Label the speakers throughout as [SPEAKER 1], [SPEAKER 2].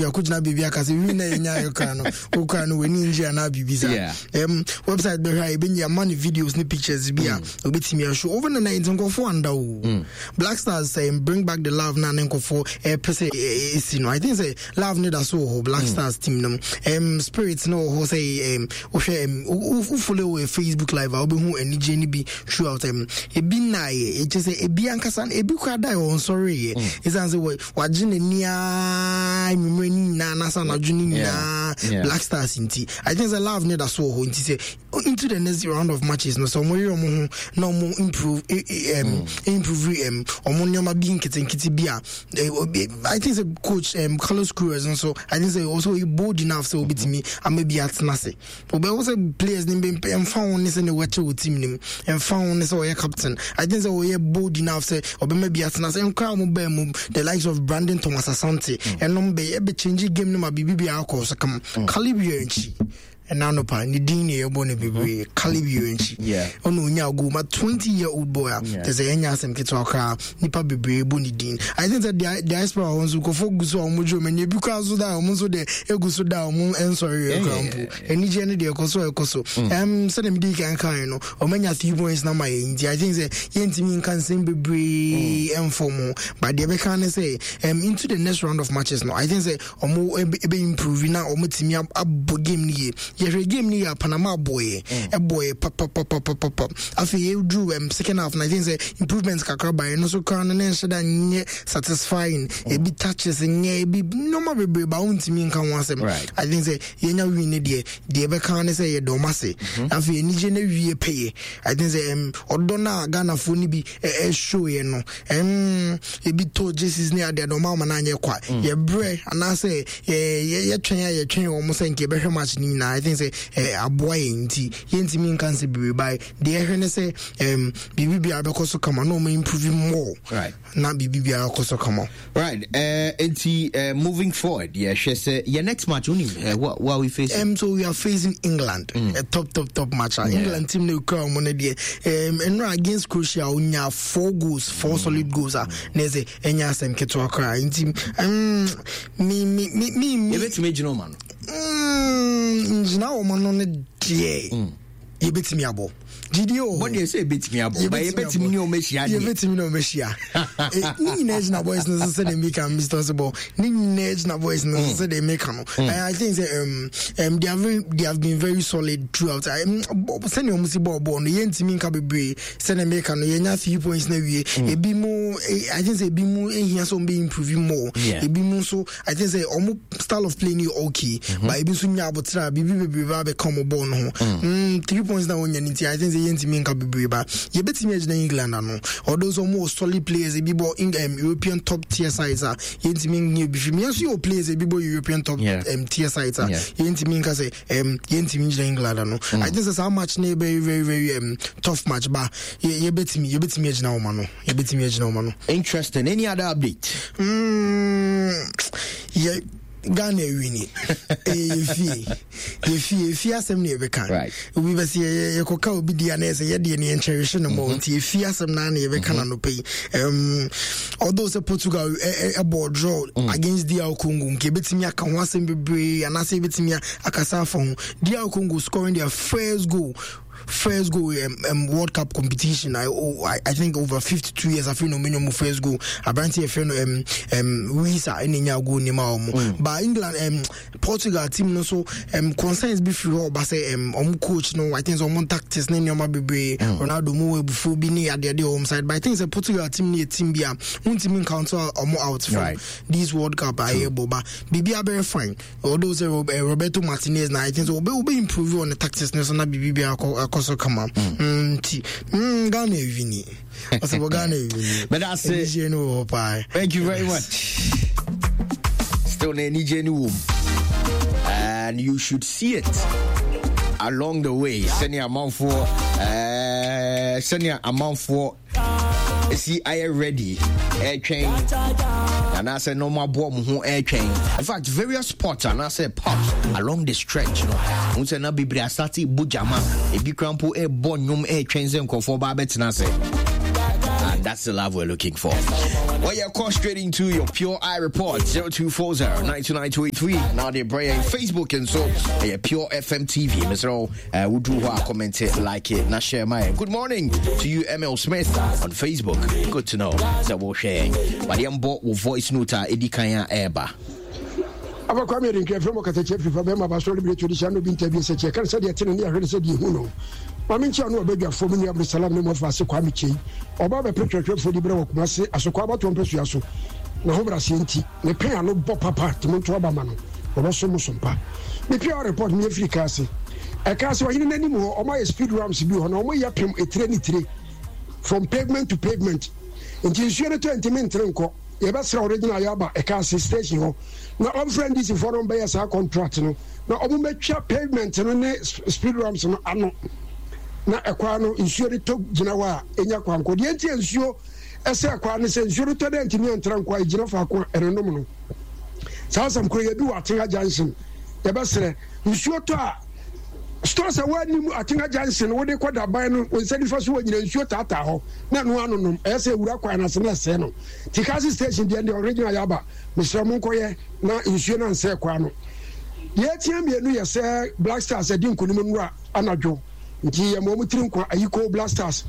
[SPEAKER 1] Yɛakɔgyina baabi aka sɛ wii na yɛnyaeɛ koraa no, wo koraa no w'ani ngye anaa biribi saa. Website bɛhwɛ a yɛbɛnya ama no videos ne pictures bi a obɛtumi ahwɛ over the night. Nkɔfoɔ anda o. Black Stars sɛ bring back the love na ne nkɔfoɔ ɛpɛ sɛ ɛsi no, I think sɛ love ne da so wɔ hɔ. Black Stars team no spirit no wɔ hɔ sɛ wohwɛ wo follow wɔ Facebook Live a, wobɛhu anigye no bi throughout. Ebi nnaeɛ, ɛkyɛ sɛ ebi ankasa ebi koraa da wɔ nsɔreeɛ ɛsiane sɛ wagye n'ani aa anwummerɛ no nyinaa anaasɛ anadwo no nyinaa Black Stars nti. I think sɛ love ne da so wɔ hɔ, nti sɛ into the next round of matches no, sɛ ɔmo yere ɔmo ho na ɔmo improve improve ɔmo nneɛma bi nketenkete bi a, I think sɛ coach Carlos Queiroz nso, I think sɛ also he bold enough sɛ obetumi ama bi atena ase. Wobɛhu sɛ players no bi ɛmfa ho ne sɛ ne wɔkyɛ wɔ team no mu, ɛmfa ho ne sɛ ɔyɛ captain, I think sɛ ɔyɛ bold enough sɛ ɔbɛma bi atena sɛ nkora a wɔbaa mu, the likes of Brandon Thomas Asante, ɛnom bɛyɛ ɛbɛ change game no ma biribi bi akɔ so kama. Caleb Yirenkyi, ɛna anɔpa ne din ne yɛbɔ no bebree. Caleb Yirenkyi ɔna onya goal ma 20-year-old boy a kyɛ sɛ ɛnyɛ asɛm ketewa koraa, nipa bebree bɔ ne din. I think sɛ diaspora hɔ nso nkurɔfoɔ gu so a wɔn dwo wɔn ani, ebi koraa so da a wɔn nso deɛ egu so da a wɔn nsɔre yɛ koraa mpo. Anigyeɛ no deɛ ɛkɔ so ɛkɔ so. Sɛdeɛ mede kan kan no, wɔn anya 3 points na ma yɛ, nti I think sɛ yɛntumi nka nsɛm bebree ɛmfɔ mu, but deɛ bɛka ne sɛ into the next round of matches no, I think sɛ wɔn ebe improve na wɔn tumi abɔ game no yie. Yɛhwɛ game no yie a, Panama abɔɛ, ɛbɔɛ papapapapapa. Afei yɛduru second half na I think sɛ improvement kakra ba. Ɛno nso koraa no ne nhyɛ da nyɛ satisfying. Ebi touches nyɛ, ebi nneɛma bebree ba, wontumi nka ho asɛm. I think sɛ yɛnya win ne deɛ, deɛ ɛbɛka ne sɛ yɛdɔ ɔmo ase. Afei anigye no wie pɛyɛ. I think sɛ ɔdɔ no a Ghanafoɔ no bi ɛshow yɛ no, ebi tɔ jerseys ne adeɛ ɔmo ama no anyɛ kwa. Yɛbrɛ anaasɛ yɛtwɛn a yɛtwɛn wɔn sɛ nka yɛbɛhwɛ match no nyinaa, I think sɛ aboa yɛn, nti yɛntumi nka nsɛ bebree ba. Deɛ ɛhwɛ ne sɛ biribi biara bɛkɔ so kama na ɔmo improve more na biribi biara kɔ so kama.
[SPEAKER 2] Right. Nti moving forward, yɛhwɛ sɛ yɛ next match wonim what are we facing?
[SPEAKER 1] So we are facing England, a top top top match. England team no kura ɔmo no deɛ, nnora against Croatia onya four goals, four solid goals a na ɛsɛ ɛnya asɛm ketewa koraa, nti me me me me me
[SPEAKER 2] yɛbɛtumi agyina ɔma no?
[SPEAKER 1] Ngyina ɔma no no deɛ, yɛbɛtumi abɔ gyidie wɔ hɔ.
[SPEAKER 2] Bɔdeɛ sɛ yɛbɛtumi abɔ ba, yɛbɛtumi ne ɔma ahyia deɛ.
[SPEAKER 1] Yɛbɛtumi ne ɔma ahyia. Ne nyinaa gyina boys no so sɛdeɛ meka, Mr. Osebo, ne nyinaa gyina boys no so sɛdeɛ meka no. I think sɛ they have been very solid throughout. Sɛdeɛ ɔmo si bɔɔ bɔɔl no, yɛntumi nka bebree. Sɛdeɛ meka no, yɛnya 3 points na wie. Ebi mu I think sɛ ebi mu ehia sɛ ɔmo bɛ improve more. Ebi mu nso, I think sɛ ɔmo style of play ni yɛ okay, but ebi nso nya abotire a biribi bebree ba abɛka ɔmo bɔɔl no ho. 3 points na wɔnya ne nti, I think sɛ yɛntumi nka bebree ba yɛbɛtumi agyina England ano, although sɛ ɔmo wɔ solid players, ebi bɔ European top tier sides a yɛntumi nyɛ bi fi mu. Yɛn nso yɛ players, ebi bɔ European top tier sides a yɛntumi nka sɛ yɛntumi gyina England ano. I think sɛ saa match no yɛ very very very tough match ba yɛbɛtumi agyina wɔn ano, yɛbɛtumi agyina wɔn ano.
[SPEAKER 2] Interesting. Any other update?
[SPEAKER 1] Yɛ Ghana awini, ɛyɛ yɛfie yɛfie yɛfie asɛm ne yɛbɛka. Obi bɛ sɛ yɛkɔka obi di a, na yɛsɛ yɛdeɛ ne yɛnkyɛrehye no mmɔ, nti yɛfie asɛm naa ne yɛbɛka no anɔpa yi. Although sɛ Portugal ɛbɔ draw against DR Congo, nka yɛbɛtumi aka ho asɛm bebree anaasɛ yɛbɛtumi akasa afa ho. DR Congo scoring their first goal World Cup competition. Oh, I think over 52 years afei na ɔmo ɔmo first goal. Aberante yɛfrɛ no Wisa ɛna nya goal ne ma ɔmo. But England, Portugal team no so concerns bi firi hɔ ɔba sɛ ɔmo coach no, I think sɛ ɔmo tactics ne nneɛma bebree, Ronaldo mu wɔ abufuo bi ne adeade wɔ ɔmo side. But I think sɛ Portugal team no yɛ team bi a wontumi count ɔmo out from this World Cup a yɛbɔ ba, biribi abɛyɛ fine. Although sɛ Roberto Martinez na I think sɛ obe improve on the tactics ne so na biribi bi akɔ so kama. Nti Ghana ewini, ɔsɛ bɔ Ghana ewini.
[SPEAKER 2] But that's it.
[SPEAKER 1] Anigye no wɔ hɔ paa.
[SPEAKER 2] Thank you very much. Still na anigye no wɔ mu. And you should see it along the way. Sɛnea amanfoɔ ɛsi ayɛ ready ɛretwɛn anaasɛ na ɔmo aboa ɔmo ho ɛretwɛn. In fact, various spots anaasɛ pubs along the stretch no, n sɛ na bebree asate bɔ gyama, ebi kora mpo ɛrebɔ nnwom ɛretwɛn sɛ nkurɔfoɔ ba abɛtena ase. And that's the love we're looking for. Well, yeah, call straight into your Pure Eye Report 0240 929 Now they bring Facebook and so yeah, Pure FM TV. Mr. O, would do what comment it, like it, not share my good morning to you, ML Smith on Facebook. Good to know. So we'll share. But the voice note, Eddie Kaya Eba.
[SPEAKER 3] Aba Kwame Adenkra frɛ mu ɔkatakyie afirifa bɛrima aba soro de bere to de hyɛ ano bi nta bi sɛ kyɛ kan sɛdeɛ ɛte no ne ahwɛ ne sɛdeɛ ehu no. Maame nkyia no ɔbadwafoɔ me nua Abdulsalam ne mmɔfra ase Kwame Kyei. Ɔba bɛpere twerɛtwerɛfoɔ di berɛ wɔ Kumase Asokwa abatoɔ mpasua so. N'ahobraseɛ nti, ne pɛn ano bɔ papa nti monto aba ma no. Ɔbɛsom mo som pa. Me PR report meyɛ firi Kaase. Ɛkaase ɔhene no anim hɔ, wɔayɛ speed ramps bi wɔ hɔ na wɔyɛ pem etire ne tire from pavement to pavement. Nti nsuo no tɔ ntumi ntere nkɔ. Yɛbɛsrɛ Original Yaba Ɛkaase station hɔ na ɔmfrɛ NDC foɔ no ɔmbɛyɛ saa contract no na ɔmo mɛtwa pavement no ne speed ramps no ano na ɛkwan no nsuo no tɔ gyina hɔ a ɛnya kwan kɔ. Deɛ nti a nsuo ɛsɛ ɛkwan no sɛ nsuo no tɔ dɛ ntumi antra nkɔ a ɛgyina faako a ɛnonom no. Saa asɛm koro yɛ bi wɔ Atenga junction. Yɛbɛsrɛ nsuo tɔ a stores a wɔanim Atenga junction wode kɔ daban no wo nsa nifa so wɔ nyina nsuo taataa hɔ na ɛno anonom ɛyɛ sɛ ɛwura kwan no ase na ɛsɛe no. Tikasi station deɛ deɛ original yaba mesrɛ mo nkɔyɛ na nsuo no ansɛe kwan no. Deɛ ɛtia mmienu yɛ sɛ Black Stars adi nkonim nnora anadwo nti yɛma wɔn tiri nkwa ayikoo Black Stars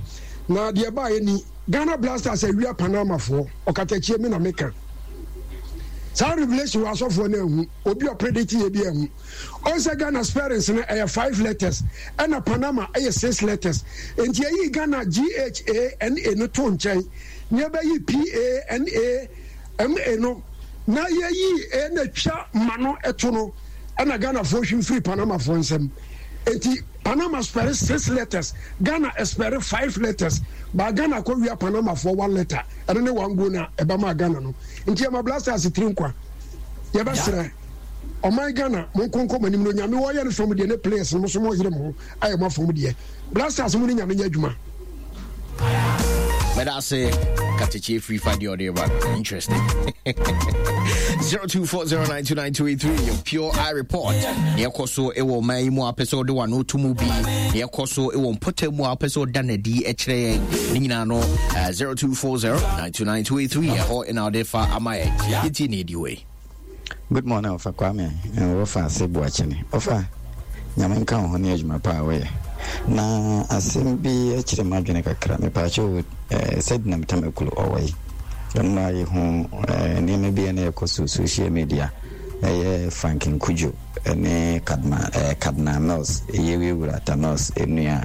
[SPEAKER 3] na deɛ ɛbaeɛ ni Ghana Black Stars awia Panamafoɔ ɔkatakyie me na meka saa revelation wɔ asɔfoɔ no ahu obi ɔpredicte yɛ bi ahu ɔn sɛ Ghana spellings no ɛyɛ five letters ɛna Panama ɛyɛ six letters nti ɛyi Ghana GHANA no to nkyɛn na yɛbɛyi PANAMA no na yɛyi A na twa ma no ɛto no ɛna Ghanafoɔ hwim firi Panamafoɔ nsam nti Panama spɛre six letters Ghana spɛre five letters ba Ghana kɔ wia Panamafoɔ one letter ɛno ne one goal na ɛba maa Ghana no nti ɛma Black Stars tiri nkwa yɛbɛsrɛ ɔman Ghana mo nkonko mo anim no nyame wɔyɛ no fam deɛ ne players no mo so mo yere mo ho ayɛ mo afam deɛ Black Stars mo ne nyame nyɛ adwuma.
[SPEAKER 2] But I say, Katechi free find your day, but interesting. 0240929283, your pure eye report. Near so ɛwɔ ɔman yi mu a wopɛ sɛ wode w'ano to mu bi neɛ ɛkɔ so ɛwɔ mpɔtam mu a wopɛ sɛ ɔda n'adi kyerɛ yɛn ne nyinaa no 0240 929 ɛhɔ ɛna wode fa ama yɛn yɛtie ne ɛdi hɔ yi.
[SPEAKER 4] Good morning Ɔfa Kwame and Wɔfa Ase Boakyene. Ɔfa, Nyame nka wo ho ne adwuma pa a woyɛ. Na asɛm bi kyere m'adwene kakra. Mepaakyɛw o, eh, Sedinam Tamakulu ɔwɔ yi? Ɛno a yɛhu eh, nneɛma bi a na ɛkɔ so social media, ɛyɛ Frank Nkujo ne Cardinal, eh, Cardinal Mills, Yewie Wura Atta Mills nua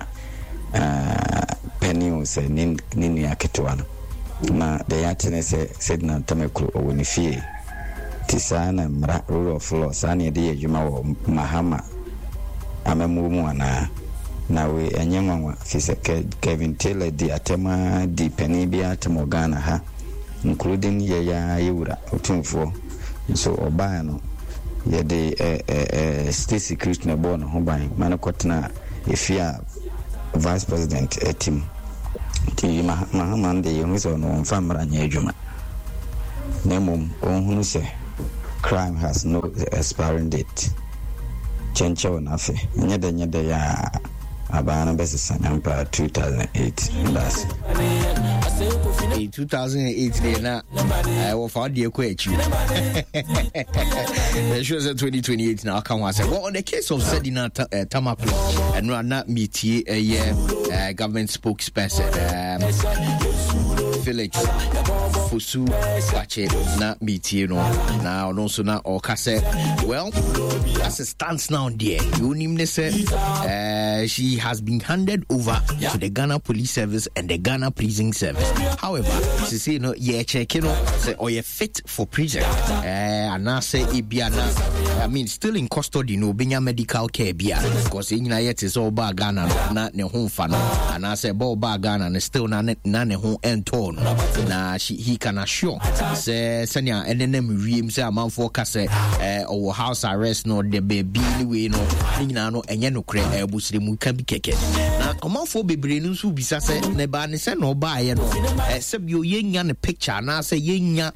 [SPEAKER 4] eh, panin o sɛ ne, ne nua ketewa no. Na deɛ yɛate ne sɛ Sedinam Tamakulu ɔwɔ ne fie. Nti saa na mmara, rule of law, saa na yɛde yɛ adwuma wɔ Mahama amammuo mu anaa? Na wei ɛnyɛ nwanwa firi sɛ Kevin Taylor di atɛm ara di panin biara atɛm wɔ Ghana ha including yɛn ara yɛ wura Otumfoɔ nso ɔbaeɛ no yɛde ɛ ɛ ɛ state security na ɛbɔɔ ne ho ban ma no kɔtenaa efie a Vice President te mu. Nti Mahama no deɛ yɛhu sɛ ɔno ɔmfa mmara nyɛ adwuma. Na mmom ɔnhunu sɛ crime has no expiring date. Kyɛnkyɛw no afe, nyɛ dɛ nyɛ dɛ a aban no bɛsesa nyampa 2008. Medase.
[SPEAKER 2] Hey, 2008 deɛ na wɔfa wo deɛ kɔ akyi ɛsure sɛ 2028 na aka ho asɛm well on the case of Sedina Tamaklo ɛno a na metie ɛyɛ government spokesperson Felix Fosu Kwakye na metie no na ɔno nso na ɔka sɛ well as it stands now deɛ wonim ne sɛ she has been handed over to the Ghana Police Service and the Ghana Prison Service. However, she say no yɛkyɛke no sɛ ɔyɛ fit for prison anaasɛ ebia na I mean still in custody no obenya medical care bia because yɛn nyinaa yɛte sɛ ɔbaa Ghana no na ne ho mfa no anaasɛ ɛbɛ ɔbaa Ghana no still na ne na ne ho ɛntɔɔ no na she, he can assure sɛ sɛnea ɛnenam wiem sɛ amanfoɔ ka sɛ ɔwɔ house arrest no ɔde baabi ne wei no ne nyinaa no ɛnyɛ nokorɛ ɛbosrɛmu ka bi kɛkɛ na ɔmanfoɔ bebree no nso bisa sɛ na ɛbaa ne sɛ na ɔbaeɛ no sɛbio yɛnya ne picture anaasɛ yɛnya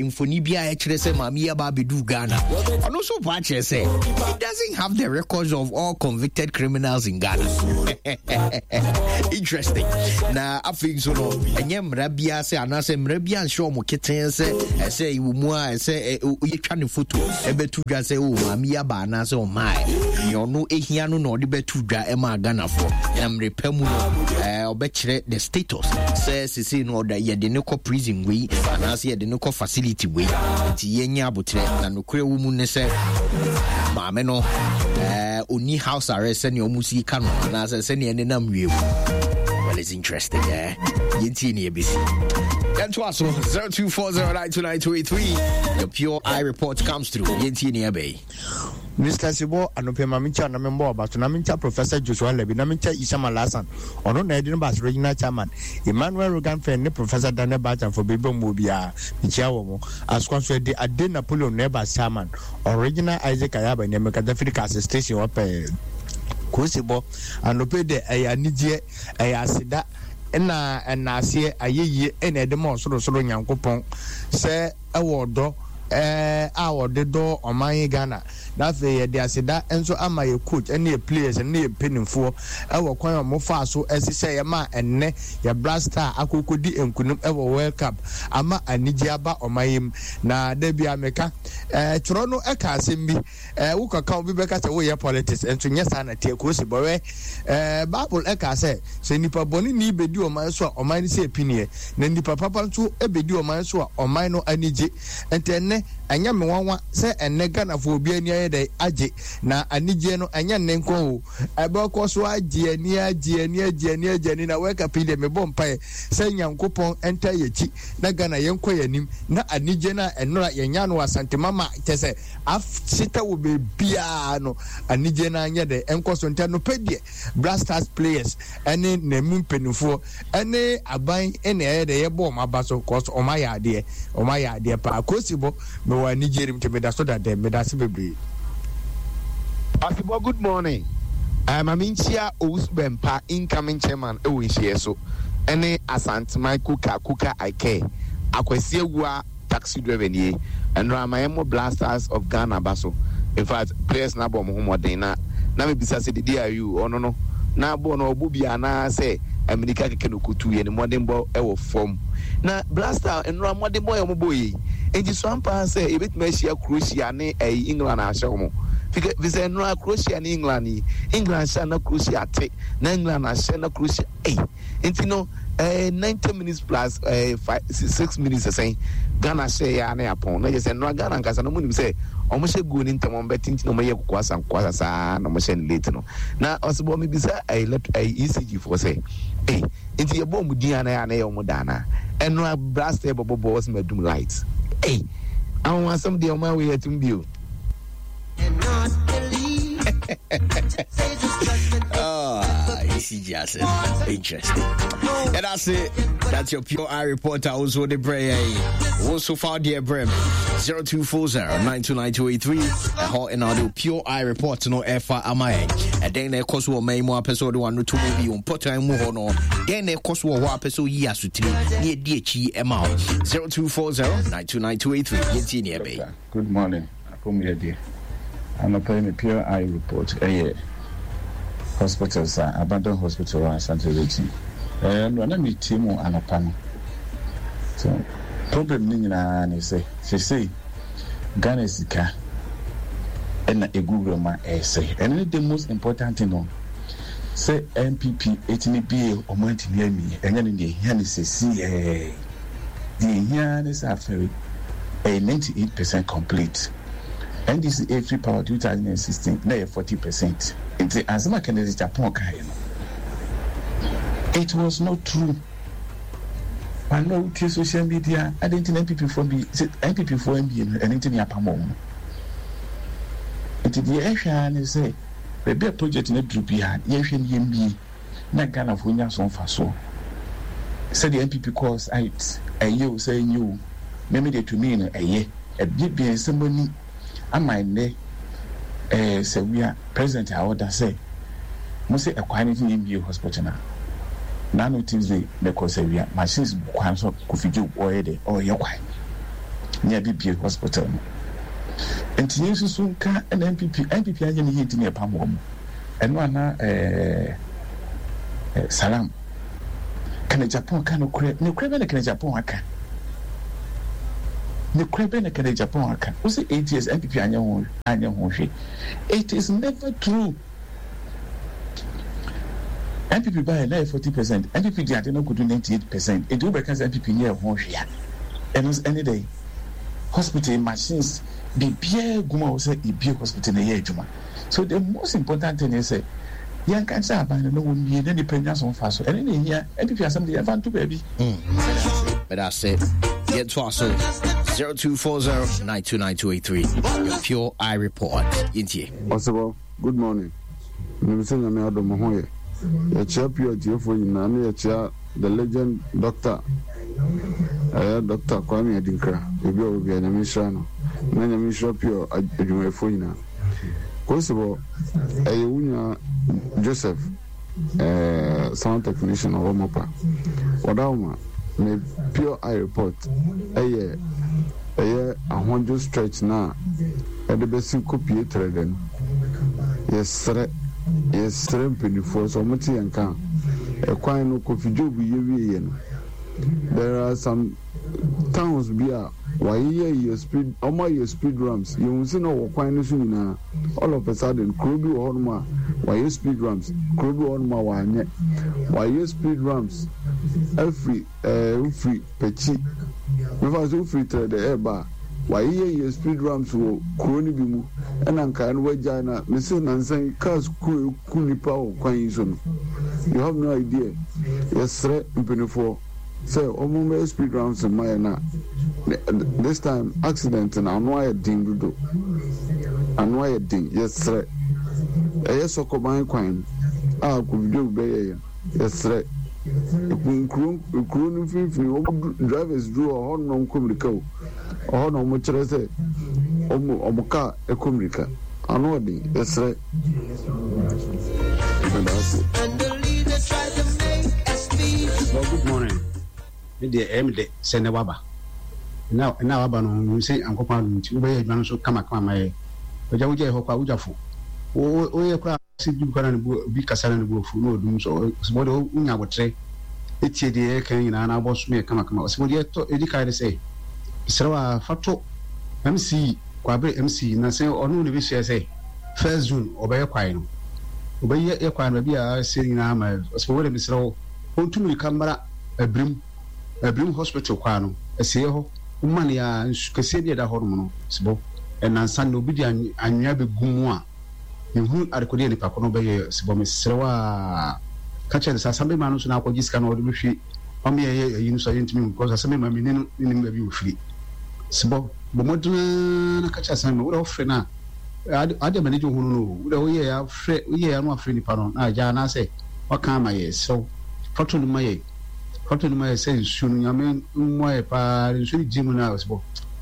[SPEAKER 2] mfoni bi a ɛkyerɛ sɛ maame yi aba abɛdu Ghana. Ɔno nso pa akyerɛ sɛ he doesn't have the records of all convicted criminals in Ghana. Interesting. Na afei nso no ɛnyɛ mmara biara sɛ anaasɛ mmara biara nhyɛ wɔn ketee sɛ ɛsɛ wɔ mu a ɛsɛ yɛtwa ne foto ɛbɛto dwa sɛ o maame yi aba anaasɛ ɔmaaɛ nea ɔno ehia no na ɔde bɛto dwa ɛma Ghanafoɔ na mmerɛ pa mu no ɔbɛkyerɛ the status sɛ sesei no ɔda yɛde ne kɔ prison wei anaasɛ yɛde ne kɔ facility wei nti yɛnyɛ abotrɛ na nokorɛ wɔ mu ne sɛ maame no ɔni house arrest sɛnea ɔmo si ka no anaasɛ sɛnea ɛnenam wiem. Well, it's interesting, eh? Yɛntie ne yɛbɛsi. Yɛntoa so 0240929283. The Pure Eye Report comes through. Yɛntie ne yɛbɛyi.
[SPEAKER 5] Mr. Sibo anɔpɛ ma menkyia na membɔ ɔba so na menkyia Professor Joshua Alabi na menkyia Isama Lassan ɔno na ɛde no ba as regional chairman Emmanuel Rogan Fɛn ne Professor Daniel Bachan for baabi a wɔwɔ biara mekyia wɔn Asokwa nso ɛde Ade Napoleon na ɛba as chairman Original Isaac Ayaba nea mekasa firi Kase station hɔ pɛɛ Kosibɔ anɔpɛ yi deɛ ɛyɛ anigyeɛ ɛyɛ aseda na ɛnaaseɛ ayɛyie na ɛde ma Ɔsorosoro Nyankopɔn sɛ ɛwɔ ɔdɔ a ɔde dɔ ɔman yi Ghana na afei yɛde aseda nso ama yɛ coach ne yɛ players ne yɛ mpanimfoɔ ɛwɔ kwan a wɔfaa so ɛhyehyɛ yɛ ma ɛnnɛ yɛ Black Star akɔkɔdi nkunim ɛwɔ World Cup ama anigye aba ɔman yi mu. Na da biara meka twerɛ no ɛka asɛm bi Eh, wo kaka obi bɛka sɛ woyɛ politics, nso nyɛ saa na teɛ kosi bɔwɛ. Eh, Bible ɛka sɛ, sɛ nipa bɔne ni bɛdi ɔman so a, ɔman no sɛ piniɛ, na nipa papa nso bɛdi ɔman so a, ɔman no ani gye. Nti ɛnnɛ, ɛnyɛ me nwanwa sɛ ɛnnɛ Ghanafoɔ obi ani ayɛ dɛn agye, na anigyeɛ no ɛnyɛ nnɛ nko o, ɛbɛkɔ so agye ani, agye ani, agye ani, agye ani, na World Cup yi deɛ mebɔ mpaeɛ sɛ Nyankopɔn ntaa yɛn akyi na Ghana yɛnkɔ yɛn anim, na anigyeɛ no a ɛnnora yɛnyaa no wɔ Asante Mama kyɛ sɛ Ahyeta wɔ baabiara no, anigyeɛ no ara nyɛ dɛ nkɔ so. Nti anɔpa deɛ, Black Stars players ne na mu mpanimfoɔ ne aban na ɛyɛ dɛ yɛbɔ wɔn aba so cause wɔn ayɛ adeɛ, wɔn ayɛ adeɛ paa. Kosi bɔ, mewɔ anigyeɛ no mu nti meda so da dɛm, meda ase bebree.
[SPEAKER 6] Asebɔ good morning eh, ma menkyia Owusu Bɛmpa incoming chairman wɔ nhyiaɛ so ɛne Asanteman Kuka Kuka I care Akwasi Awuah Taxi driver nie. Ɛnora ma yɛmmɔ Blasters of Ghana aba so. In fact, players no abɔ wɔn ho mmɔden na na mebisa sɛ Didi Ayew ɔno no na bɔɔl no ɔbɔ bi anaa sɛ amirika kɛkɛ na ɔkɔtu yɛ ne mmɔdenbɔ wɔ fam. Na Blaster nnora mmɔdenbɔ yɛ wɔn bɔɔ yei. Nti so ampa ara sɛ yɛbɛtumi ahyia Croatia ne ɛyi England ahyɛ wɔn. Fi sɛ nnora Croatia ne England yi, England hyɛ a na Croatia ate, na England ahyɛ na Croatia ei. Nti no eh, 90 minutes plus eh, five, 6 minutes sɛn Ghana hyɛ ya na yapɔn na kyerɛ sɛ nnora Ghana nkasa no ɔmo nim sɛ ɔmo hyɛ goal ne ntɛm ɔmo bɛte nti na ɔmo yɛ kokoasa kokoasa saa na ɔmo hyɛ no late no na ɔsebɔ mi bisa ɛyɛ left ɛyɛ ECG foɔ sɛ eh nti yɛbɔ ɔmo din ana yɛ ana yɛ ɔmo da ana ɛnora blast yɛ bɔbɔ bɔ ɔsɛ ma dum light eh ahonhasɛm deɛ ɔmo awɔ yɛ atum bio.
[SPEAKER 2] Oh, ECG asset. Interesting. And that's it. That's your pure eye reporter also the prayer. Also found dear brem 0240 929283. Ɛhɔ ɛna ɔde pure eye report no ɛfa ama yɛn. Ɛdɛn na ɛkɔ so wɔ man mu apɛ sɛ ɔde wano to mu bi wɔ mpɔtan mu hɔ no. Dɛn na ɛkɔ so wɔ hɔ apɛ sɛ oyi asotire ne ɛdi akyi ɛma wo. 0240 929283. Yɛntie ne ɛbɛyi.
[SPEAKER 7] Good morning apom yɛ deɛ anɔpa yi me pure eye report ɛyɛ hospitals a abandon hospital wɔ Asante region ɛɛ nora na me tie mu anɔpa no so problem ne nyinaa ne sɛ sesei Ghana sika ɛna egu wura mu a ɛsɛ ɛno ne the most important thing no sɛ NPP etimi bie ɔmo antimi amie ɛnyɛ ne deɛ ehia ne sɛsi ɛɛ. Deɛ ɛhia ara ne sɛ afɛre ɛyɛ 98 percent complete. NDC ɛfiri power 2016 na ɛyɛ 40 percent. Nti asɛm a Kennedy Agyapong kaeɛ no, it was not true. Ano a wotie social media, adɛn nti na NPP foɔ bi, sɛ NPP foɔ mbie no, ɛno nti na yɛapam wɔn no. Nti deɛ ɛhwɛ ara ne sɛ, baabi a project no aduru biara, yɛnhwɛ no yɛmbie. na Ghanafoɔ nya so mfasoɔ. Sɛdeɛ NPP kɔɔ site, ɛyɛ o sɛ ɛnyɛ o, me me deɛ to me no ɛyɛ. Ɛbiebie nsɛm ani ama ɛnnɛ ɛɛ sɛ wia president a ɔda sɛ mo sɛ ɛkwan no nti na yɛmbie hospital no a. Naano Tuesday mekɔ sɛ wia machines gu kwan so Kofi Job ɔyɛ dɛ ɔyɛ kwan. Ne yɛabɛbue hospital no. Nti yɛnsusu nka na NPP, NPP anyɛ ne yie nti na yɛpam wɔn. Ɛno a na ɛɛ Salam, Kenneth Agyapong ka nokorɛ, nokorɛ bɛn na Kenneth Agyapong aka? Nokorɛ bɛn na Kenneth Agyapong aka? Wo sɛ 8 years NPP anyɛ ho anyɛ ho hwee. It is never true. NPP baeɛ na ɛyɛ 40%, NPP de ade no akɔdu 98%, nti wobɛka sɛ NPP nyɛɛ ho hwee a, ɛno nso ɛne dɛn? Hospital machines, biribiara gu mu a wɔ sɛ yɛbie hospital na ɛyɛ adwuma. So the most important thing ne sɛ yɛnka nkyerɛ aban no na wɔmmie na nnipa nya so mfaso. Ɛno na ɛhia. NPP asɛm de yɛmfa nto baabi.
[SPEAKER 2] Meda ase. Yɛntoa so 0240 929283 your pure eye report. Yɛntie.
[SPEAKER 8] Ɔsebɔ, good morning. Menim sɛ Nyame adom mo ho yɛ. Yɛkyea Pure atiefoɔ nyinaa ne yɛkyea the legend Doctor ɛyɛ Doctor Kwame Adinkra baabi a ɔwɔ biara Nyame nhyira no na Nyame nhyira Pure adwumayɛfoɔ nyinaa. Kosebɔ, ɛyɛ wo nua Joseph eh, sound technician ɔwɔ Mopa. Ɔdawoma, me Pure Eye Report ɛyɛ ɛyɛ ahodwo stretch no a ɛde bɛsi kɔpie trɛdɛ no. Yɛsrɛ, yɛsrɛ mpanimfoɔ sɛ wɔte yɛn nka a, ɛkwan no Kofi Job yɛ wieɛ no, there are some towns bi a wɔayeyɛ yɛ speed, wɔn ayɛ speed ramps, yɛhu sɛ na wɔ kwan no so nyinaa, all of a sudden kuro bi wɔ hɔnom a wɔayɛ speed ramps, kuro bi wɔ hɔnom a wɔanyɛ, wɔayɛ speed ramps afiri Ɛɛ wofiri Pɛkyi, mefa sɛ wofiri Trɛdɛ ɛreba a, wɔayeyɛyɛ speed ramps wɔ kuro no bi mu ɛna nkaeɛ no wɔagyae na mese nansa yi cars ku ɛku nnipa wɔ kwan yi so no you have no idea. Yɛsrɛ mpanyinfoɔ sɛ wɔn mmɛyɛ speed ramps mma yɛn na this time accident no ano ayɛ den dodo ano ayɛ den yɛsrɛ ɛyɛ sɔkɔban kwan a Kofi bɛyɛyɛ no. Yɛsrɛ. Nkuro nkuro no mfimfini wɔn du drivers duru hɔ hɔ na wɔn kɔ mirika o ɔhɔ na wɔn kyerɛ sɛ wɔn wɔn kaa ɛkɔ mirika ano ɔden yɛsrɛ. Meda ase.
[SPEAKER 9] Well, good morning. Me deɛ ɛyɛ me dɛ sɛ nnɛ waba. Ɛnna ɛnna a waba no, menim sɛ Nyankopɔn adom nti wobɛyɛ adwuma no nso kamakama ma yɛ. Agya wogyae hɔ kɔ a, wogya fo. Wo woyɛ koraa sɛ bi koraa na ne bo obi kasa na ne bo afu na ɔdum so ɔsɛ bɔ deɛ wonya abotrɛ etie deɛ yɛka nyinaa na abɔ so yɛ kamakama. Ɔsɛ bɔ deɛ ɛtɔ edi kan ne sɛ mesrɛ wo a fa to MC Kwabere MC na sɛ ɔno na ebehyia sɛ first June ɔbɛyɛ kwae no ɔbɛyɛ yɛ kwae no baabi a ɛsɛ nyinaa ma ɔsɛ bɔ deɛ mesrɛ wo ɔntu mmirika mmra Abirim Abirim hospital kwaa no asieɛ hɔ woma no a nsu kɛseɛ bi a ɛda hɔ nom no sebɔ ɛnansa no obi de anwea bɛgu mu a menhunu adekodeɛ a nipa ko no bɛyɛ sebɔ mesrɛ wo a ka kyerɛ no sɛ asambema no nso na akɔgye sika na ɔde bɛhwie ɔme yɛyɛ ayi no so a yɛntumi hu because asambema menni no menim baabi ɔfiri sebɔ bɔ mmɔden ara na ka kyerɛ asambema wode wofrɛ no a ade ade a m'ani gye ho no no wode woyɛ ya frɛ woyɛ ya no afrɛ nipa no na agya anaasɛ waka ama yɛ serɛw fa to no ma yɛ fa to no ma yɛ sɛ nsuo no nyame mmoa yɛ paa nsuo no gye mu no a ɔsebɔ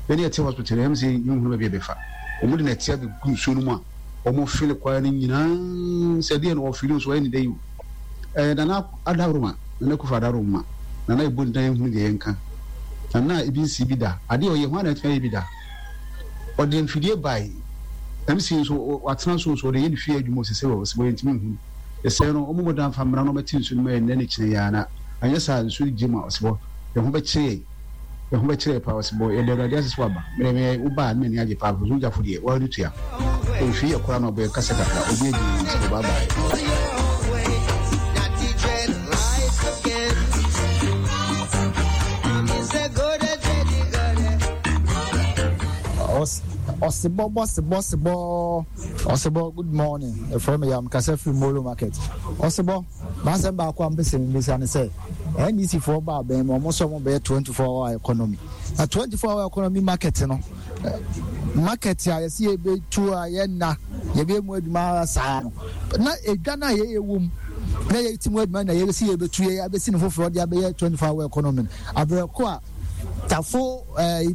[SPEAKER 9] yɛne yɛte hospital no ɛm sɛ yɛnhunu baabi a ɛbɛfa wɔn de nɛteɛ abɛgu nsuo no mu a wɔn fili kwan no nyinaa sɛ deɛ na wɔfili nso wɔyɛ ne dɛ yi o ɛɛ nana adaworoma nana kufa adaworoma nana ebu ndan ehunu deɛ yɛnka nana ebi nsi bi da adeɛ ɔyɛ ho ana ɛtumi ayɛ bi da ɔde mfidie bae MC nso watena so nso ɔde yɛ ne fie adwuma osese wɔ ɔsɛ wɔyɛ ntumi nhunu ɛsɛ no wɔn mmɔden afa mmara no wɔbɛte nsuo no mu ɛnnɛ ne kyerɛ yɛ ana anyɛ saa nsuo no gye mu a ɔsebɔ yɛn ho bɛkyerɛ yɛn Yɛn ho bɛkyerɛ yɛ paa ɔse bɔ yɛda awurade ase sɛ waba mede me wo baa ne m'ani agye paa because wogyafo deɛ woara ne tua ofie yɛ koraa na ɔbɔ yɛ kasa kakra obi adi ne nsɛ bye bye.
[SPEAKER 10] Ɔsebɔ bɔsebɔ sebɔ ɔsebɔ good morning ɛfrɛ me yam kasa firi Molo market ɔsebɔ M'asɛm baako a mepɛ sɛ mebisa ne sɛ, NDC foɔ ba abɛn mu, wɔn sɛ wɔn bɛyɛ 24 hour economy. Na 24 hour economy market no, market a yɛsi yɛbɛtu a yɛnna, yɛbɛyɛ mu adwuma saa no, na edwa no a yɛyɛ wɔ mu, na yɛti mu adwuma na yɛsi yɛbɛtu yɛ abɛsi no foforɔ de abɛyɛ 24 hour economy no. Abrɛko a Tafo ɛɛ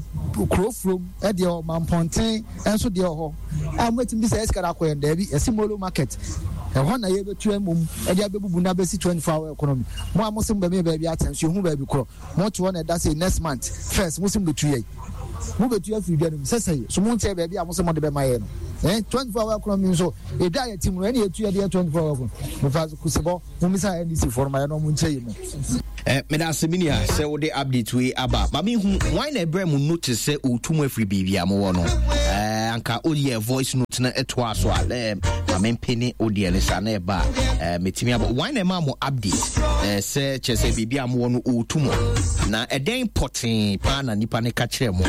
[SPEAKER 10] kuro furom deɛ wɔ Mampɔnten nso deɛ wɔ hɔ a wɔbɛtumi de sɛ ɛsika no akɔ yɛn daabi yɛsi Molo market ɛhɔ na yɛbɛtu mmom ɛde abɛbubu na abɛsi 24 hour economy mo a mo se mo bɛmi baabi atɛn so yɛhu baabi korɔ mo te hɔ na ɛda sɛ next month first mo se mo bɛtu yɛn. Mobɛtu afiri dwa no mu sɛ sɛi. So monkyɛɛ baabi a mose mode bɛma yɛn no? Eh, 24 hour economy nso, edwa a yɛte mu no, ɛne yɛtu yɛde yɛ 24 hour economy. Mefa kusebɔ, mommisa NDC foɔ no ma yɛn na ɔmo nkyɛ yɛ mu.
[SPEAKER 2] Eh, meda ase me nua sɛ wode update wei aba. Ma mehu hwan na ɛbrɛ mu notice sɛ ɔretu mu afiri baabi a mowɔ no. Eh, anka woyɛ voice note no ɛtoa so a eh, ma mempene wodeɛ no saa na ɛba a eh, metumi abɔ. Hwan na ɛma mo update eh, sɛ kyerɛ sɛ biribi a mowɔ no ɔretu mu na ɛdɛn pɔtee paa na nipa no ka kyerɛ mo?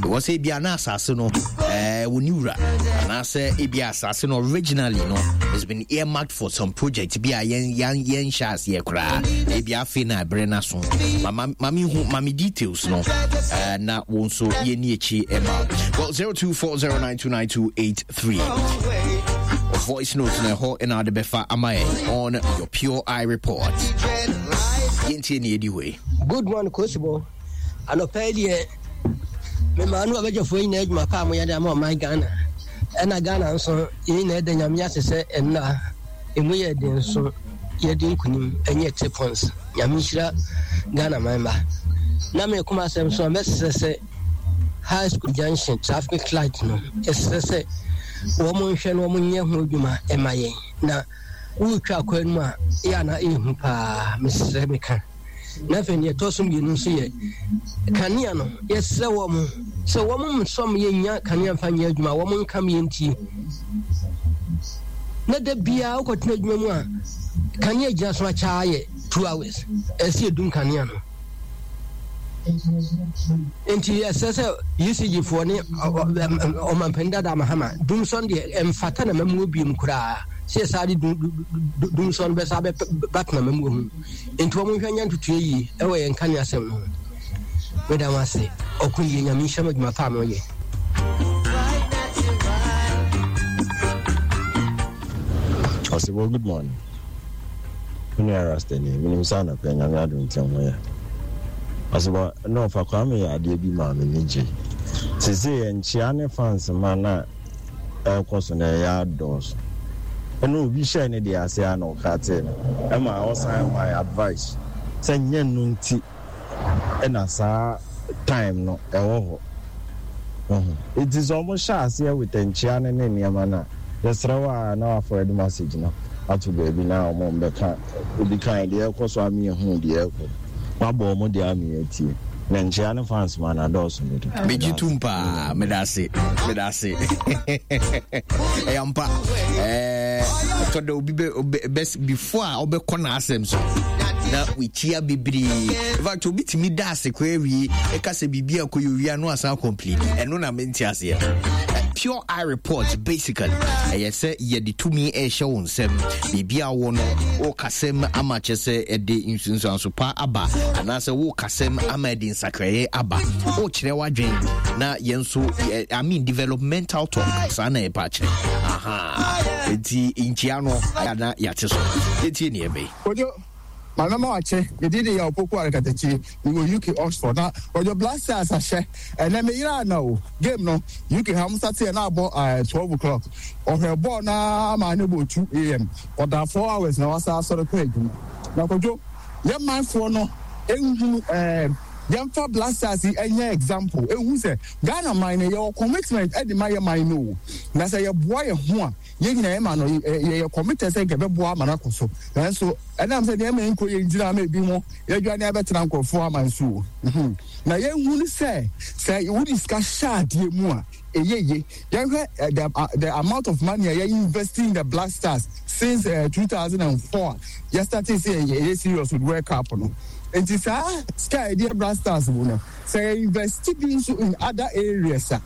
[SPEAKER 2] Because ebia na asase no eh, wɔ ne wura anaasɛ ebia asase no originally no has been earmarked for some project bi a yɛn yɛn yɛn nhyɛ aseɛ koraa ebi afei na ɛbrɛ no aso ma ma me hu ma me details no uh, na wɔn nso yɛn ni akyi ɛma well 0240929283 voice note na ɛhɔ ɛna ade bɛfa ama yɛn on your pure eye report yɛntie ne yɛdi hɔ yi.
[SPEAKER 11] Good morning Kosibo. Anɔpa yi deɛ memaa no abadwafoɔ nyinaa adwuma pa a moyɛ de ama ɔman Ghana. Ɛna Ghana nso yɛn nyinaa da Nyame ase sɛ ɛnna ɛmu yɛ den nso yɛde nkunim ɛnyɛ three points. Nyame nhyira Ghana man ba. Na me koma asɛm so a mɛsrɛ sɛ High School Junction traffic light no ɛsrɛ sɛ wɔn nhwɛ no wɔn nyɛ ho adwuma ɛma yɛn na woretwa akwan mu a yɛ ana ɛhu paa mesrɛ meka. Na afei nea ɛtɔ so mmienu nso yɛ kanea no. Yɛsrɛ wɔn sɛ wɔn nsɔm yɛnya kanea mfa nyɛ adwuma, wɔn nkam yɛntie. Na da biara wokɔtena adwuma mu a kanea gyina so akyɛ yɛ 2 hours, ɛsɛ yɛdum kanea no. Nti ɛsɛ sɛ ECG foɔ ne ɔmampanin dada Mahama dumsɔn deɛ ɛmfata na mamuo biem koraa sɛ yɛsaa de dumsɔn bɛsa bɛtena mamuo ho. Nti wɔn nhwɛ nyɛ ntotoeɛ yie ɛwɔ yɛn nkanea asɛm no ho. Meda mo ase. Ɔko yie. Nyame nhyira mo adwuma pa a moyɛ.
[SPEAKER 12] Ɔsebɔ good morning. Me nua Rasta nie, menim sɛ anɔpa yi Nyame adom nti ho yɛ. Ɔsebɔ na ɔfa Kwame yɛ adeɛ bi maa m'ani gye. Seesei nkyea ne fans ma na ɛrekɔ so no ɛyɛ adɔɔso. Ɛna obi hyɛɛ ne deɛ ase a na ɔkatee no ɛma ɔsan maa advice sɛ nyɛ no nti ɛna saa time no ɛwɔ hɔ. Wahu? Nti sɛ ɔmo hyɛ aseɛ with nkyea no ne nneɛma no a, yɛsrɛ wo a na w'aforward message no ato baabi na ɔmo mbɛka obi kan deɛ ɛrekɔ so ama yɛahu deɛ ɛrekɔ. Wabɔ ɔmo deɛ ama yɛatie. Na nkyea no fans ma no adɔɔso dodo.
[SPEAKER 2] Megye tom paa. Meda ase. Meda ase. Ɛyɛ ampa. Ɛtɔ da obi bɛ bɛ before a ɔbɛkɔ n'asɛm so na wekyia bebree. In fact, obi tumi da ase koraa wie ɛka sɛ biribi a kɔyɛ owia no asan complain. Ɛno na mente aseɛ. Pure eye report basically ɛyɛ sɛ yɛde tumi ɛrehyɛ wo nsɛm biribi a wɔ no wokasɛm ama kyɛ sɛ ɛde nsunsuanso pa aba anaasɛ wokasɛm ama ɛde nsakraeɛ aba wokyerɛ w'adwen na yɛn nso I mean developmental talk saa na yɛpa akyerɛ aha nti nkyia no na yɛate so yɛtie neɛ bɛyi.
[SPEAKER 13] Kojo, Maame ma wakye, me din de Yaw Poku Arekatakyi, me wɔ UK Oxford na Kojo Black Stars ahyɛ ɛnɛ me yera ana o, game no UK ha ɔmo start yɛ na abɔ eh, 12 o'clock, ɔhwɛ bɔɔl no ara maa ne bɔɔ 2am, ɔdaa 4 hours na wasa asɔre kɔ adwuma. Na Kojo, yɛ manfoɔ no nhunu eh, yɛmfa Black Stars yi nyɛ example, nhu sɛ Ghana man no yɛwɔ commitment de ma yɛ man no o, na sɛ yɛboa yɛ ho a, Yɛn nyinaa yɛma no, yɛyɛ committed sɛ nka ɛbɛboa ama no akɔ so. Nanso ɛnam sɛ nneɛma nkɔ yie nti na ama ebinom yɛadwane abɛtena nkurɔfoɔ aman so o. Na yɛnhunu sɛ, sɛ wode sika hyɛ adeɛ mu a, ɛyɛ yie. Yɛnhwɛ the, the amount of money a yɛ invest in the Black Stars since uh, 2004 a yɛstartee sɛ yɛyɛ serious with World Cup no. Nti saa sika a yɛde yɛ Black Stars mu no, sɛ yɛ invest bi nso in other areas a,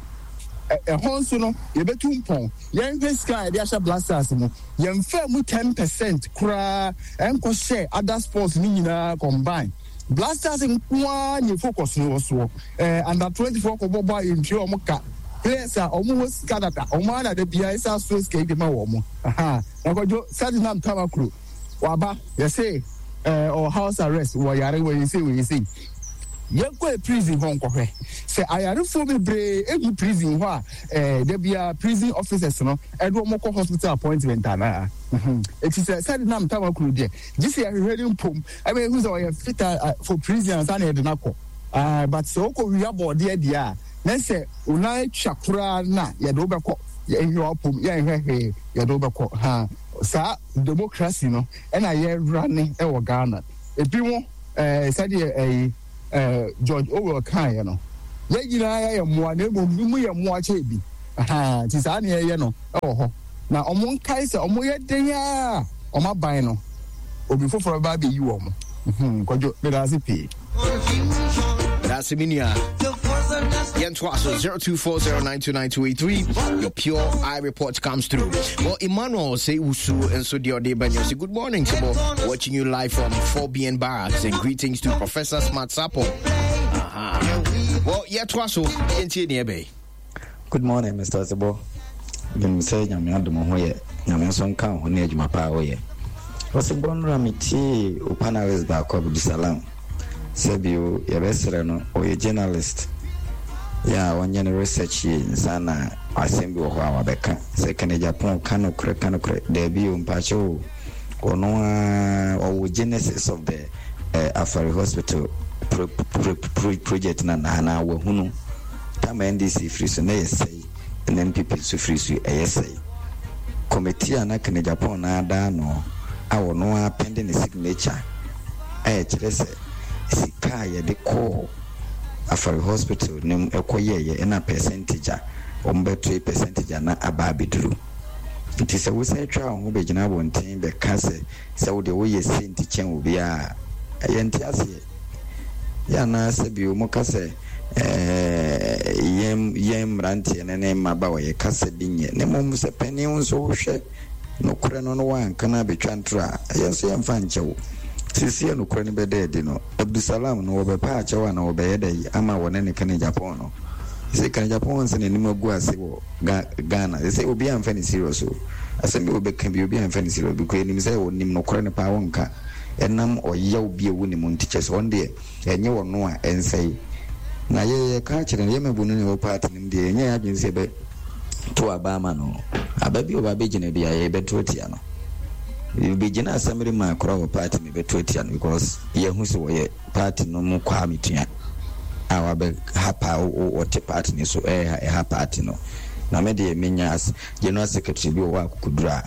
[SPEAKER 13] ɛhɔ nso no yɛbɛtu mpɔn. Yɛnhwɛ sika a yɛde ahyɛ Black Stars mu, yɛmfaa mu 10% koraa nkɔhyɛɛ other sports no nyinaa combine. Black Stars nko ara na focus no wɔ soɔ. Eh, under 20 foɔ kɔbɔ bɔ a yɛntua wɔn ka. Players a wɔn wɔ sika dada, wɔn ara na da biara yɛsan soa sika yi de ma wɔn. Aha, na Kwadwo, Sedinam Tamaklo, waba, yɛse eh, ɔwɔ house arrest, wɔyare, wɔyɛ sei, wɔyɛ sei. Yɛnkɔ prison hɔ nkɔhwɛ sɛ ayarefoɔ bebree gu prison hɔ a eh, da biara prison officers no ɛde wɔn kɔ hospital appointment anaa. Eti sɛ sɛde nam tamakuro deɛ gye sɛ yɛhwehwɛ ne mpom ɛma yɛhu sɛ ɔyɛ fit for prison ansa na yɛde no akɔ. Ah, but sɛ wokɔ wia bɔɔdeɛ deɛ a Na sɛ wo nan atwa koraa no a, yɛde wo bɛkɔ. Yɛnhwɛ w'apom, yɛnhwɛ hwee, yɛde wo bɛkɔ. Ha, saa democracy no ɛna yɛrane wɔ Ghana. Ebi mo, ɛɛ, sɛdeɛ ɛyi, ɛɛ, George Orwell kaeɛ no, yɛn nyinaa yɛyɛ mmoa, na mmom bi mu yɛ mmoa kyɛn bi. Ha, nti saa na yɛyɛ no wɔ hɔ. Na wɔn nkae sɛ wɔyɛ den ara a, wɔn aban no, obi foforɔ bɛba abɛyi wɔn. Hmm, Kwadwo, meda ase pii.
[SPEAKER 2] That's me nua. Yɛntoa so 0240929283. Your pure eye report comes through. Well, Emmanuel say Usu and so the other Banyo say good morning, Sibo. Watching you live from 4BN Barracks and greetings to Professor Smart Sapo. Uh-huh. Well, yɛtoa so yɛntie neɛ bɛyi.
[SPEAKER 4] Good morning Mister Ɔsebɔ, menim sɛ Nyame adom wo ho yɛ, Nyame nso nka wo ho ne adwuma pa a woyɛ. Ɔsebɔ nnora me tiee wo panelist baako Abdusalam, sɛ bio yɛbɛsrɛ no ɔyɛ journalist yɛ a ɔnyɛ ne research yie nsa na asɛm bi wɔ hɔ a wabɛka sɛ Kenneth Agyapong ka nokorɛ ka nokorɛ, daabi o mpakyɛw o. Ɔno ara ɔwɔ genesis of the eh, Afari Hospital pro, pro, pro, project na na anaa wahunu tama NDC firi so na yɛ sɛe na NPP nso firi so ɛyɛ sɛe. Committee a na Kenneth Agyapong na ada ano a ɔno ara pɛnde ne signature a ɛkyerɛ sɛ sika a yɛde kɔɔ Afari Hospital no mu ɛkɔ yɛɛyɛ ɛna percentage a wɔbɛtoe percentage a na aba abɛduru. Nti sɛ wosan twa wo ho bɛgyina abɔnten bɛka sɛ sɛ wo deɛ woyɛ sei nti kyɛn obiara a, yɛnte aseɛ. Yɛ anaa sɛ bio moka sɛ ɛɛ yɛn yɛn mmeranteɛ no ne mmabaawa yɛ kasa bi nyɛ na mmom sɛ panin wo nso wohwɛ nokorɛ no na woanka no abɛtwa ntorɔ a, yɛn nso yɛmfa nkyɛ wo. Seesei a nokorɛ no bɛda adi no, Abdusalam no wɔbɛpa akyɛw anaa wɔbɛyɛ dɛn ama wɔne ne Kane Japan no? Seesei Kane Japan sɛ n'anim agu ase wɔ Ga Ghana sesei obiaa nfa no serious o asɛm bi a ɔbɛka bi obiaa nfa no serious because yɛnim sɛ ɔnim nokorɛ no paa ɔnka ɛnam ɔyaw bi a ɛwɔ ne mu nti kyɛsɛ ɔno deɛ ɛnyɛ ɔno a ɛnsɛe na yɛ yɛka akyerɛ no yɛ mabunu ne ɛwɔ party no mu deɛ yɛnyɛ yɛn adwene sɛ yɛbɛ to aba ama no aba bi ɔba bɛgyina bi a yɛbɛto atia no yɛbɛgyina assembly man koraa wɔ party mu yɛbɛto atia no because yɛhu sɛ wɔyɛ Party no mu Kwame Tua a wabɛ ha paa ɔte party no so ɛha ɛha party no na me deɛ menya as general secretary bi wɔ hɔ akokoduru a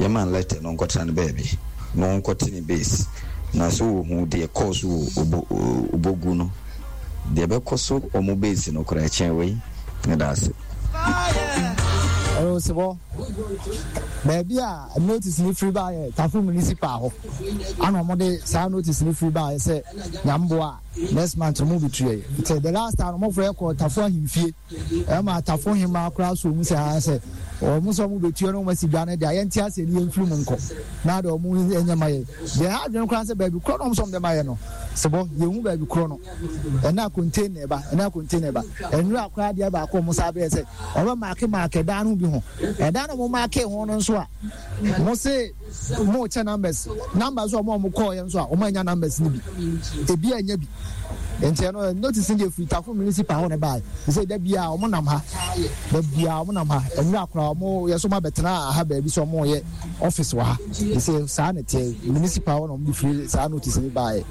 [SPEAKER 4] yɛma no letter no ɔnkɔtena no baabi na ɔnkɔte ne base na so wɔhu deɛ kɔɔ so wɔ obo obogu no deɛ bɛkɔ so ɔmo base no koraa ɛkyɛn wei meda ase.
[SPEAKER 10] Ɔsebɔ, baabi a notice no firi baeɛ Tafo Municipal hɔ ana wɔn de saa notice no firi baeɛ sɛ nyamboa a next month wɔn bɛtua yi nti the last time wɔn frɛ kɔ Tafo ahemfie ɛma Tafo hemaa koraa so wɔn sɛ ha sɛ wɔn sɛ wɔn bɛtua no wɔn asi dwa no deɛ yɛnte aseɛ ne yɛmfiri mu nkɔ na deɛ wɔn nyɛ ma yɛ deɛ ha adwene koraa sɛ baabi korɔ no wɔn sɛ wɔn de ma yɛ no sebɔ yɛhu baabi korɔ no ɛna container ba ɛna container ba ɛnura koraa deɛ baako wɔn saa bɛyɛ sɛ wɔn bɛ maake maake dan no bi ho ɛdan no wɔn maake ho no nso a wɔn se wɔn kyɛ numbers numbers a wɔn a wɔn kɔɔ yɛ nso a wɔn anya numbers no bi ebi anya bi nti ɛno notice no deɛ firi tafo municipal hɔ na ɛbaa sɛ da bia wɔn nam ha da bia wɔn nam ha ɛnura koraa wɔn yɛ so wɔn abɛtena ha baabi sɛ wɔn yɛ office wɔ ha sɛ saa na ɛteɛ municipal hɔ na wɔn de firi saa notice no baa yɛ.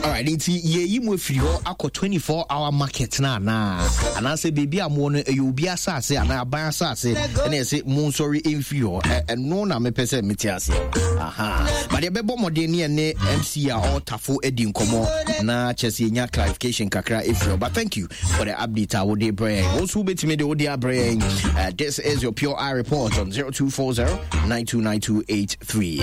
[SPEAKER 2] Alright, nti yɛyi mu afiri hɔ akɔ 24 hour market no anaa anaasɛ baabi a moɔ no ɛyɛ obi asase anaa aban asase ɛna ɛsɛ mo nsɔre mfiri hɔ ɛno na mepɛ sɛ mete aseɛ aha but yɛbɛbɔ mmɔden ne ɛne mc a ɔtafo adi nkɔmmɔ na kyɛ sɛ yɛnya clarification kakra ɛfiri hɔ but thank you for the update a wode brɛ yɛn wo nso wobɛtumi de wode abrɛ yɛn. This is your Pure Eye Report on 0240 929283.